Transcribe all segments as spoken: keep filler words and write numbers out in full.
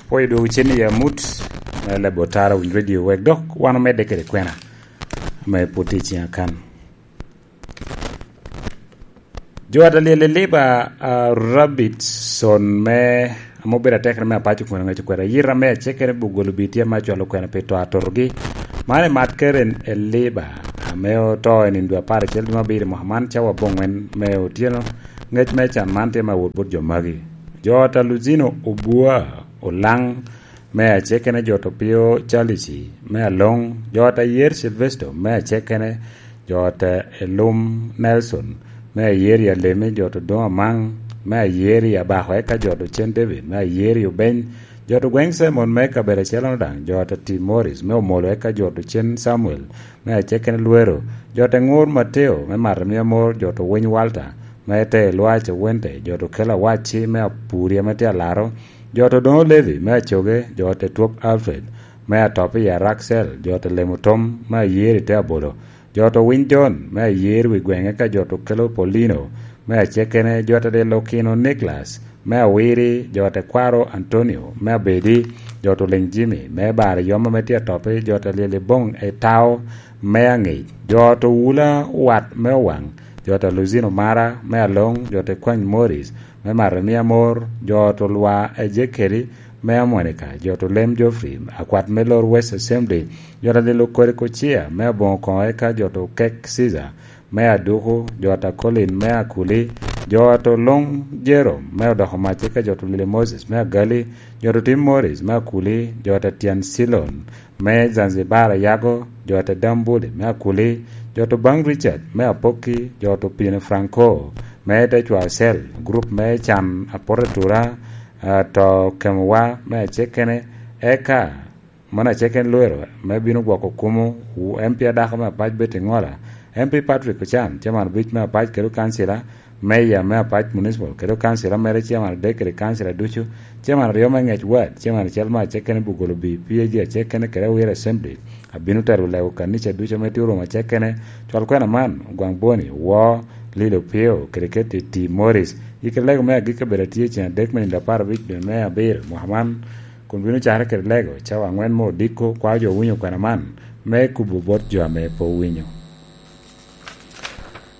Pwoyo dwogo cen i amut me lebo tara winy radio wek dok wan omedde kede kwena me pwod tye i ciŋa kan. Jo a ta lyel i liba, a, Rabbit Son me, ame obedo atekere me apaco kun aŋeco kwede ayita me acekere buk golo bi tye ame acwalo kwena pi to atotogi. Man i mat Karen e liba, ame oto i nino dwe apar acel dwe me abiro i mwaka man cawa aboŋwen me otyeno. Ŋec me can man tye me awot bot jo magi. Jo ta Luzino Obua Olaŋ me acekene, jo ta Opio Calici me Aloŋ, jo ta Yer Silvesto me acekene, jo ta Elum Nelson me Ayer i Alemi, jo ta Odoŋ Amaŋ me Ayer i Abako, eka jo ta Ocen David me Ayer i Obeny, jo ta Gweŋ Simon me kabedo acel-lono daŋ, jo ta Tim Morris me Omolo, eka jo ta Ocen Samuel me acekene Lwero, jo ta Ŋur Mateo me Matamia Mor, jo ta Owiny Walter me te Lwac Awente, jo ta Okelo Awacci me Apuri ame tye Alaro, jo ta Odoŋo Levi me Acoge, jo ta Etwok Alfred me Atop i Araksel, jo ta Lemo Tom me Ayer i te Abolo, jo ta Owiny John me Ayer wi Gweŋe, ka jo ta Okelo Paulino me acekene, jo ta Lelo Kino Nicholas me Awiri, jo ta Kwaro Antonio me Abedi, jo ta Oliny Jimmy me Bar Yom ame tye Atoppi, jo ta Lyel Iboŋ Etao me Aŋic, jo ta Owula Wat me Owaŋ, jo ta Luzino Mara me Aloŋ, jo ta Kwany Morris me Matamia Mor, jo ta Olwa Ejekeli me Amonika, jo ta Olem Geoffrey, akwat me Lor West Assembly, jo ta Lilo Kodi Kocia me Aboŋo Koŋo, eka jo ta Okek Caesar me Aduku, jo ta Colin me Akuli, jo ta Oloŋ Jerome me Odoko Mac, eka jo ta Olile Moses me Agali, jo ta Otim Morris me Akuli, jo ta Tyen Silon me Zanzibar Ayago, jo ta Dambuli me Akuli, jo ta Obaŋ Richard me Apokki, jo ta Opino Franco me te Cwacel, gurup me can apoto atura, a, to Kemowa me Acekene, eka mano Acekene Lwero me bino gwoko kumo, wu M P adako me Apac Betty Ŋola, M P Patrick Ochan, chairman abic me Apac kede kancila, meya me Apac Municipal kede kancila mere, chairman adek kede kancila ducu, chairman aryo me Ŋec Ward, chairman acel me Acekene Bugolo B P A G Acekene kede Awira Assembly, abino tero lego kanica ducu ame tye orumo Acekene, cwal kwena man, Ogwaŋ Boni, Woo, Lilo Pio, kede Keti T Morris. Yikki lego me agikki obedo atye i ceng adek me nino apar abic dwe me abiro mwaka man, kun bino cakere kede lego cawa aŋwen me odiko, kwao jo owinyo kwena man me kubo bot jo ame pe owinyo.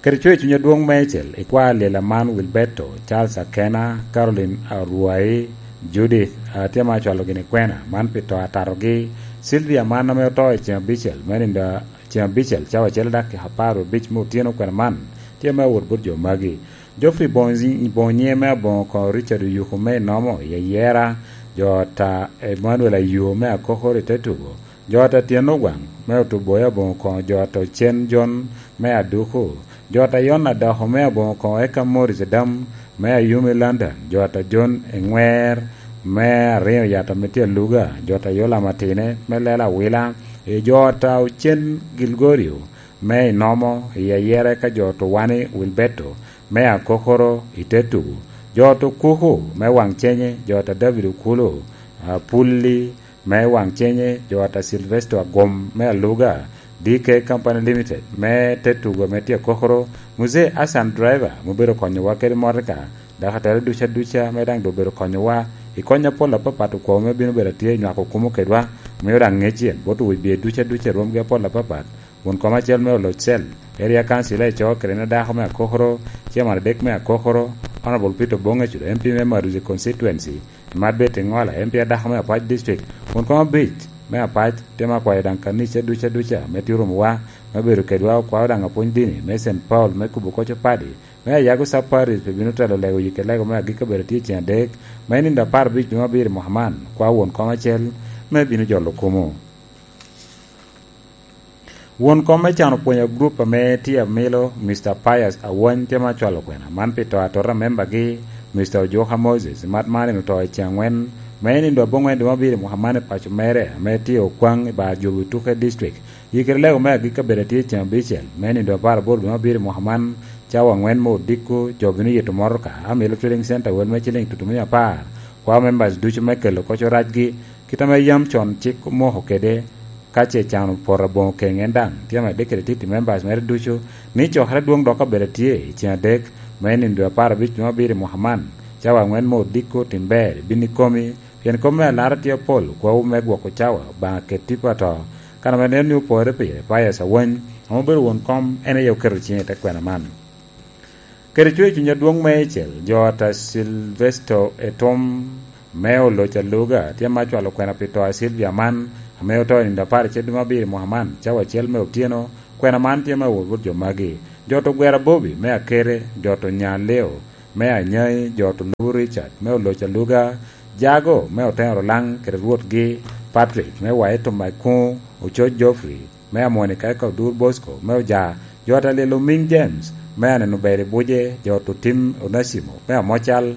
Kede coyo cuny adwoŋ meicel, ikwao alyel aman Wilberto, Charles Akena, Caroline Arwai, Judith, a, tye ma acwalo gini kwena, man pi to atatogi, Sylvia man ame oto i ceng abicel, me nino a-, ceng abicel, cawa acel dakica apar abic me otyeno kwena man, tye me awot bot jo magi. Geoffrey Bonyi-, Bonye me Aboŋo Koŋo, Richard Oyuku me Inomo i Ayera, jo ta Emmanuel Ayo me Akokoro i te tugo, jo ta Tyen Ogwaŋ me Otubo i Aboŋo Koŋo, jo ta Ocen Jon me Aduku, jo ta Yon Adoko me Aboŋo Koŋo, eka Morris Adam me Ayumi London, jo ta Jon Eŋwer me Ariŋo Yata me tye Aluga, jo ta Yolam Atine me Lela Awila, i jo ta Ocen Gilgorio me Inomo i Ayera, eka jo ta Owani Wilberto me Akokoro i te tugo, jo ta Okuku me Waŋcenye, jo ta David Okulu, a, Pulli me Waŋcenye, jo ta Silvesto Agom me Aluga, D K Company Limited me te tugo me tye Akokoro, Muzee Hassan Driver, mubedo konyowa kede motoka, dok atera duca duca me daŋ doŋ obedo konyowa i kony apol apapat okwo me bino bedo atye i nywako kumo kedwa, mio daŋ ŋec yen bot owibie duca duca i rwomgi apol apapat, won kom acel me Oloc Cel, Area Council Eco, kede en adako me Akokoro, Chairman adek me Akokoro, Honorable Peter Bonge Cudo, M P me Maduzi Constituency, Marbet Iŋola, M P adako me Apac District, won kom abic me Apac, temo akwayo daŋ kanica duca duca me tye orumowa, me bedo kedwa, okwao daŋ apwony dini me Saint Paul me kubo koco padi, me Ayago Sub Parish, pe bino telo lego yikke lego me agikki obedo tye i ceng adek, me nino apar abic dwe me abiro i mwaka man, kwao won kom acel me bino jolo kumo. Won kom me can opwonyo gurup ame tye amilo, Mister Pius Awany, tye ma cwalo kwena man pi to atota a membagi, Mister Ojuka Moses, mat man en oto i ceng angwen, me nino aboŋwen dwe me abiro i mwaka man i paco mere, ame tye Okwaŋ i bar Jobi Tuke District. Yikere lego me agikki abedo atye i ceng abicel, me nino apar aboro dwe me abiro i mwaka man, cawa angwen me odiko, jo bino yito motoka, amilo Trading Center wel me ciling tutumia apar, kwao members ducu me kelo koco racgi, kit ame yam con cik omoko kede, ka ce can opoto aboŋo keŋ en daŋ, tye ame dikiri titi members mere ducu, ni cokere adwoŋ dok obedo atye i ceng adek, me nino dwe apar abic dwe me abiro i mwaka man, Cawa aŋwen me odiko, tim ber, ibin ikomi, pien kop me alara tye apol, kwawu me gwoko cawa, Obaŋa ket tipo ato. Kan ame nen ni opore pire, Pius Awany, ame obedo won kom, en aye oketo ciŋe i te kwena man. Kede cwer cuny adwoŋ meicel, jo ata Silvesto Etom, me oloc aluga, tye ma cwalo kwena pi to a Silvia man, ame oto i nino apar acel dwe me abiro i mwaka man, cawa acel me otyeno. Kwena man tye me awot bot jo magi: jo to Gwera Bobi me Akere, jo to Nyaleo me Anyai, jo to Lubu Richard me oloc aluga, Jago me Oteno Rulaŋ kede rwotgi, Patrick me Waito Maikuŋo, Ococ Geoffrey me Amoni, ka eka Odur Bosco me Oja, jo ata Lilo Miŋ James me Aneno Ber i Buce, jo to Tim Onacimo me Amocal,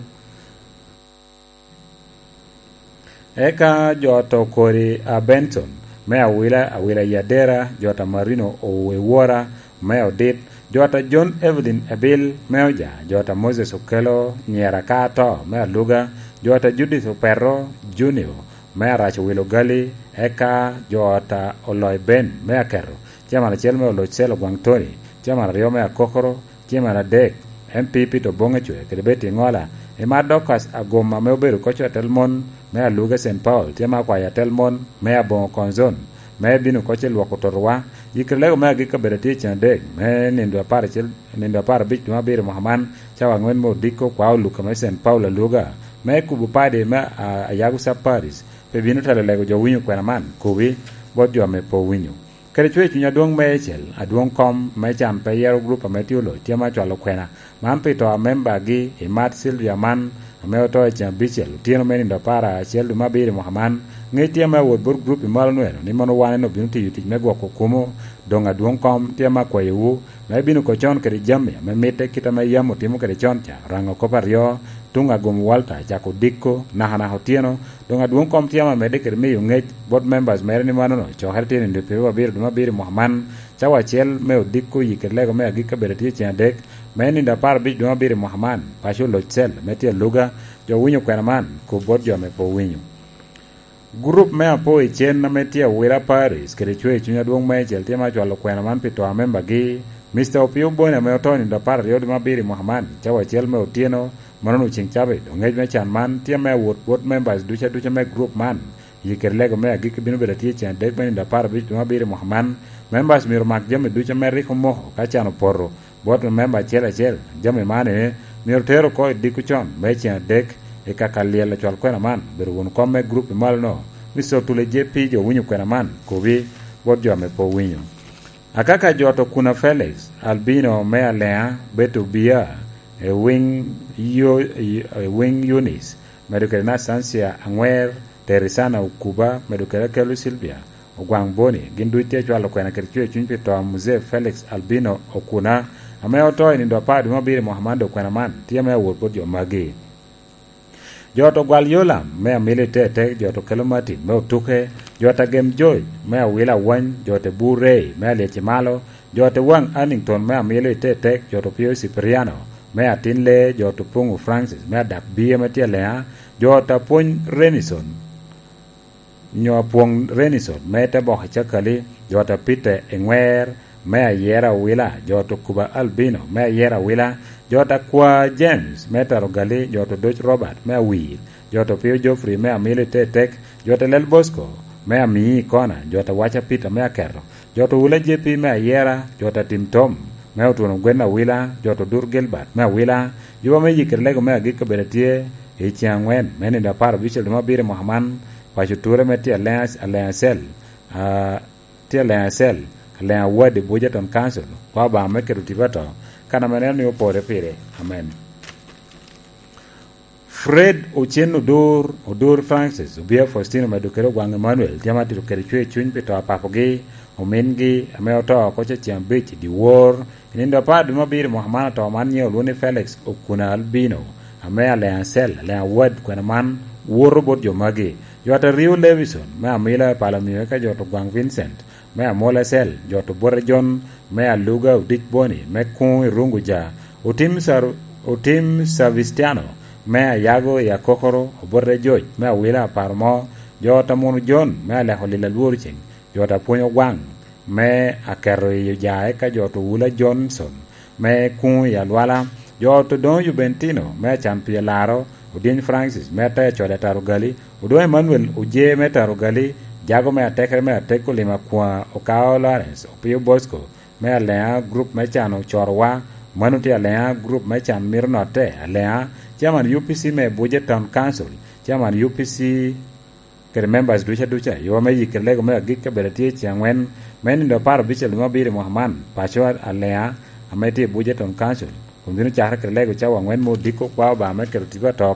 eka jo to Kori a Benson me Awila, Awila Yadera, jo ta Marino Owewora me Odit, jo ta John Evelyn Ebil me Oja, jo ta Moses Okelo Nyera ka ato me Aluga, jo ta Judith Opeto Junior me Arac Owilo Gali, eka jo ta Oloi Ben me Aketo, Chairman acel me Oloc Cel Ogwaŋ Tony, Chairman aryo me Akokoro, Chairman adek, M P Peter Oboŋecwe kede Betty Ŋola, i mar Dorcas Agoma ame obedo koc atel mon me Aluga Saint Paul, tye me akwayo atel mon me Aboŋo Konzon, me bino koc i lwoko totowa. Yikere lego me agikki obedo atye i cen adek me nindo apar acel, nindo apar abic dwe me abiro mwaka man, cawa aŋwen me odiko, kwa oluka me Saint Paul Aluga, me kubo padi me, a, Ayago Sub Parish, pe bino telo lego jo winyo kwena man, kubi bot jo ame pe owinyo. Kede cwer cuny adwoŋ meicel, adwoŋ kom me can pe yero gurup ame tye oloc tye me acwalo kwena man pi to a membagi i mat Sylvia man, ame oto i ceng abicel otyeno me nindo apar acel dwe me abiro i mwaka man. Ŋec tye me awot bot gurup i malo nweno ni mono wan en obino tiyo tic me gwoko kumo. Doŋ adwoŋ kom tye me akwayowu me bino oko con kede jami ame mitte kit ame yam otimo kede con ca, Oraŋo kop aryo, tuŋ Agum Walter, cako odiko, nakanaka otyeno. Doŋ adwoŋ kom tye ame amedde kede miyo ŋec bot members mere ni manono cokere tye nindo pyeraryo abiro dwe me abiro i mwaka man, cawa acel me odiko. Yikere lego me agikki obedo atye cen adek me nindo apar abic dwe me abiro i mwaka man, paco Oloc Cel me tye Aluga, jo winyo kwena man, kub bot jo ame pe owinyo. Gurup me apo i cen ame tye Awila Paris kede cwer cuny adwoŋ meicel tye me acwalo kwena man pi to a membagi, Mister Opio Boni ame oto nindo apar aryo dwe me abiro i mwaka man, cawa acel me otyeno, manono ceŋ cabit. Oŋec me can man tye me awot bot members ducu aduca me gurup man. Yikere lego me agikki bino bedo atye cen adek me nindo apar abic dwe me abiro i mwaka man. Members myero omak jami ducu ame rik omoko ka can opoto bot member acel acel. Jami man ene myero ter oko i diko con me cen adek i kaka lyel acwal kwena man. Bedo won kom me gurup i malo-no, Mister Otule J P, jo winyo kwena man, kobi bot jo ame pe owinyo. Akaka jo to Kuna Felix Albino me Alea, Beto Bia, e wing yo-, e wing Eunice, medo kede Nastancia Aŋwer, Terisana Okuba, medo kede Akelu Sylvia Ogwaŋ Boni, gin duc tye acwalo kwena kede cwer cuny pi to a Mzee Felix Albino Okuna, ame oto i nindo apar dwe me abiro i mwaka man. Doŋ kwena man tye me awot bot jo magi: jo to Gwal Yolam me Amilo i Tetek, jo to Kelo Martin me Otuke, jo ta Gem George me Awila Awany, jo te Bur Rey me Alyeci Malo, jo te Waŋ Annington me Amilo i Tetek, jo to Pio Cipriano me Atin Lee, jo to Puŋu Francis me Adak Bie me tye Alea, jo ta Pwony Renison, nyo Apwoŋ Renison me te Boko Cakali, jo ta Peter Eŋwer me Ayera Awila, jo to Kuba Albino me Ayera Awila, jo ta Kwa James me Taro Gali, jo to Doc Robert me Awir, jo to Pio Geoffrey me Amilo i Tetek, jo ta Lel Bosco me Amii i Kona, jo ta Waca Peter me Aketo, jo to Wula J P me Ayera, jo ta Tim Tom me Otuno Gwen Awila, jo to Dur Gilbert me Awila. Yuba me yikere lego me agikki obedo atye i cen aŋwen me nindo apar abicel dwe me abiro i mwaka man, paco ture me tye Alliance, Alliance Cell, a, tye Alliance Cell, Alliance Award i Buja Town Council, kwa Obaŋa me keto tipo ato, kan ame neno ni opore pire. Amen. Fred Ocen Odur, Odur Francis, Obia Faustino medo kede Ogwaŋ Emmanuel, tye ma tito kede cwer cuny pi to a papogi, omingi, ame oto oko cecen abic i dyewor. I nindo apar dwe me abiro i mwaka man, ato man nyiŋe olwoŋo ni Felix Okuna Albino, ame Alliance Cell, Alliance Award kwena man woto bot jo magi: jo ta Rio Levison me Amila i Pala Miyo, eka jo to Gwaŋ Vincent me Amola Cell, jo to Bote John me Aluga, Odic Boni me Kuŋ i Runguja, Otim Sar-, Otim Savistiano me Ayago i Akokoro, Obote George me Awila Aparmo, jo ta Munu John me Aleko Lil Alwor Ceŋ, jo ta Pwony Ogwaŋ me Aketo i Oja, eka jo to Wula Johnson me Kuŋ i Alwala, jo to Doŋo Jubentino me Acan Pye Laro, Odiny Francis me Ataya Code Atarugali, Odongo Emmanuel Oje me Tarugali, Jago me Atekere me Atek, Olima Akwa, Okao Lawrence, Opio Bosco me Aleŋa, gurup me can Ocorowa, mano tye Aleŋa, gurup me can Mito Notte Aleŋa, Chairman U P C me Abuja Town Council, Chairman U P C kede members duca duca, yo me yikki lego me agikki abedo tye i ceŋ angwen me nino apar abicel me abiro i mwaka man, paco Aleŋa ame tye i Abuja Town Council, kun bino cakere kede lego cawa angwen me odiko kwa Obaŋa me keto tipo atoo.